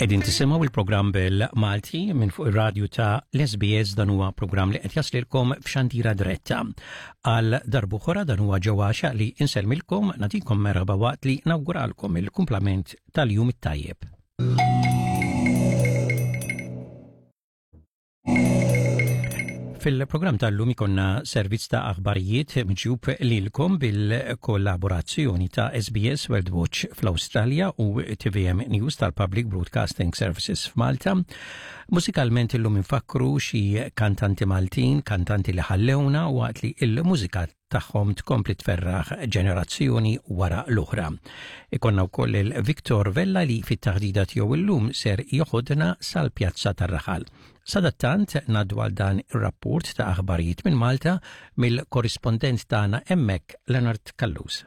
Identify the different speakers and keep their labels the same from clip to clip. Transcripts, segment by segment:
Speaker 1: Qegħdin tisimgħu il-programm bil-Malti minn fuq ir-radju ta' l-SBS dan huwa programm li qed jaslilkom f'xandira diretta. Għal darb'oħra dan huwa ġewwa li insellmilkom nagħtikom merħba waqt li nawguralkom il-kumplament tal-jum it-tajjeb. Fil-programm tal-lum ikonna servizz ta' aħbarijiet mġjub lilkom bil-kollaborazzjoni ta' SBS World Watch fl-Awstralja u TVM News tal-Public Broadcasting Services f'Malta. Mużikalment illum infakru xi kantanti Maltin, kantanti li ħallewna waqt li il-mużika tagħhom tkompli tferraħ ġenerazzjoni wara l-oħra. Ikonna wkoll il-Victor Vella li fit-taħdida tiegħu illum ser joħodna sal-Pjazza tar-Raħal. Sadattant ngħaddu għal dan ir-rapport ta' aħbarijiet minn Malta mill-korrispondent tagħna hemmhekk Leonard Callus.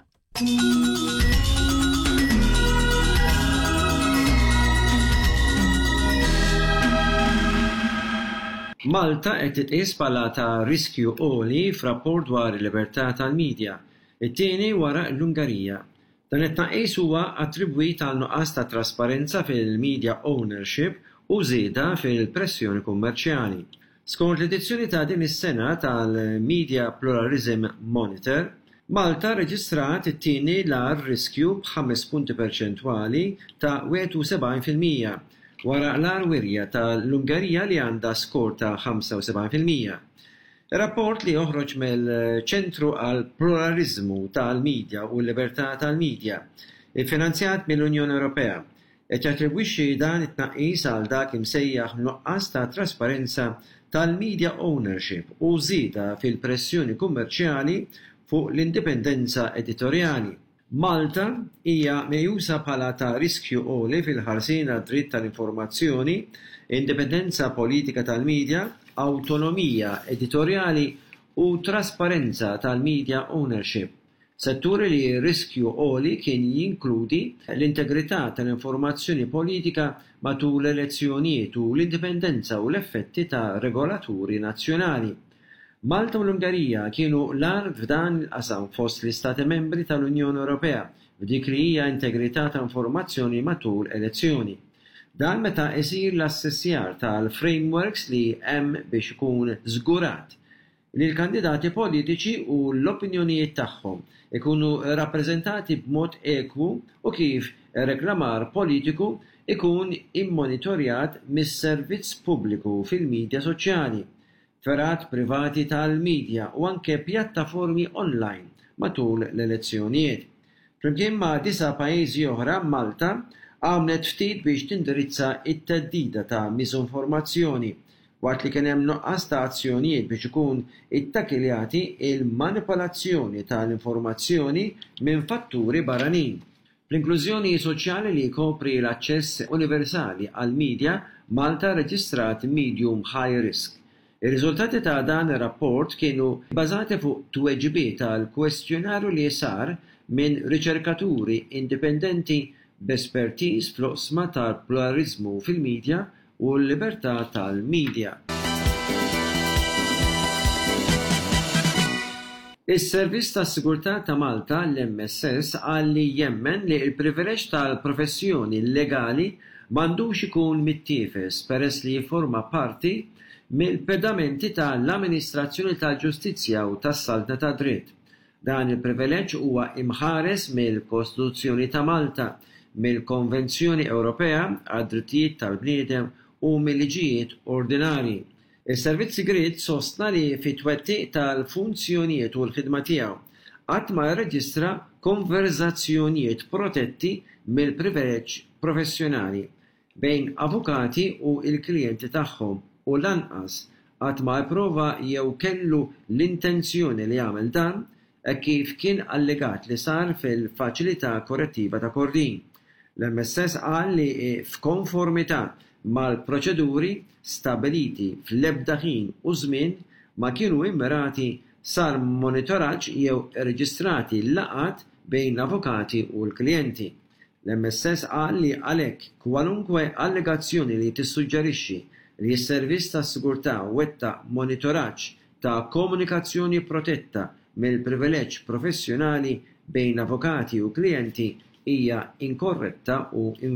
Speaker 2: Malta qed titqies bħala ta' riskju għoli f'rapport dwar il-libertà tal-midja, it-tieni wara l-Ungarija. Dan it-tnaqqis huwa attribwit għal nuqqas ta' trasparenza fil-media ownership u żieda fil-pressjoni kummerċjali. Skont l-edizzjoni ta' din is-sena tal-Media Pluralism Monitor, Malta rreġistrat it-tieni l-agħar riskju b'ħames punti perċentwali ta' 71%, wara l-agħar wirja ta' l-Ungerija li għandha skor ta' 75%. Ir-rapport li joħroġ mill-Ċentru għall-Pluraliżmu tal-Media u l-Libertà tal-Media, iffinanzjat mill-Unjoni Ewropea, Qed jattribwixxi dan it-tnaqqis għal dak imsejjaħ nuqqas ta' trasparenza tal-media ownership u żieda fil-pressjoni kummerċjali fuq l-indipendenza editorjali. Malta hija meqjusa bħala ta' riskju għoli fil-ħarsien għad-dritt tal-informazzjoni, indipendenza politika tal-media, awtonomija editorjali u trasparenza tal-media ownership. Setturi li riskju għoli kien jinkludi l-integrità tal-informazzjoni politika matul l-elezzjonijiet u l-indipendenza u l-effetti ta' regolaturi nazzjonali. Malta u l-Ungerija kienu l-agħar f'dan il-qasam fost l-Istati Membri tal-Unjoni Ewropea f'dik li hija integrità ta' informazzjoni matul elezzjoni. Dan meta isir l-assessjar tal-frameworks li hemm biex ikun żgurat li l-kandidati politiċi u l-opinjonijiet tagħhom ikunu rrappreżentati b'mod ekwu u kif ir-reklamar politiku jkun immonitorjat mis-servizz pubbliku fil-midja soċjali, fergħat privati tal-midja u anke pjattaformi online matul l-elezzjonijiet. Flimkien ma' disa' pajjiżi oħra, Malta għamlet ftit biex tindirizza t-theddida ta' miżinformazzjoni waqt li kien hemm nuqqas ta' azzjonijiet biex ikun ittakiljati il-manipolazzjoni ta' l-informazzjoni minn fatturi barranin. Fl-inklużjoni soċjali li jkopri l-aċċess universali għall-media, Malta rreġistrat medium high risk. Ir-riżultati ta' dan ir-rapport kienu bbażati fuq tweġibiet għal kwestjonarju li sar minn riċerkaturi indipendenti b'espertiż fl-oqsma tal-pluraliżmu fil-media u l-libertà tal-media. Is-Servizz tas-Sigurtà ta' Malta, l-MSS, qal li jemmen li l-privileġġ tal-professjoni legali m'għandux ikun mittiefes peress li jifforma parti mill-pedamenti ta' l-amministrazzjoni tal-ġustizzja u tas-saltna tad-dritt. Dan il-privileġġ huwa imħares mill-Kostituzzjoni ta' Malta, mill-Konvenzjoni Ewropea għad-Drittijiet tal-Bniedem u mil-liġijiet ordinarji. Is-Servizz Sigriet sostna li fit-twettiq tal-funzjonijiet u l-ħidma tiegħu, qatt ma rreġistra konverżazzjonijiet protetti mill-privileġġ professjonali bejn avukati u l-klijenti tagħhom u lanqas qatt ma ipprova jew kellu l-intenzjoni li jagħmel dan, hekk kif kien allegat li sar fil-Faċilità Korrettiva ta' Kordin. L-MSS qal li f'konformità mal-proċeduri stabbiliti fl-ebda ħin u żmien ma kienu immirati sar monitoraġġ jew irreġistrati laqgħat bejn l-avukati u l-klijenti. L-MSS qal li għalhekk kwalunkwe allegazzjoni li tissuġġerixxi li s-Servizz tas-Sigurtà wettaq monitoraġġ ta' komunikazzjoni protetta mill-privileġġ professjonali bejn avukati u klijenti hija inkorretta u.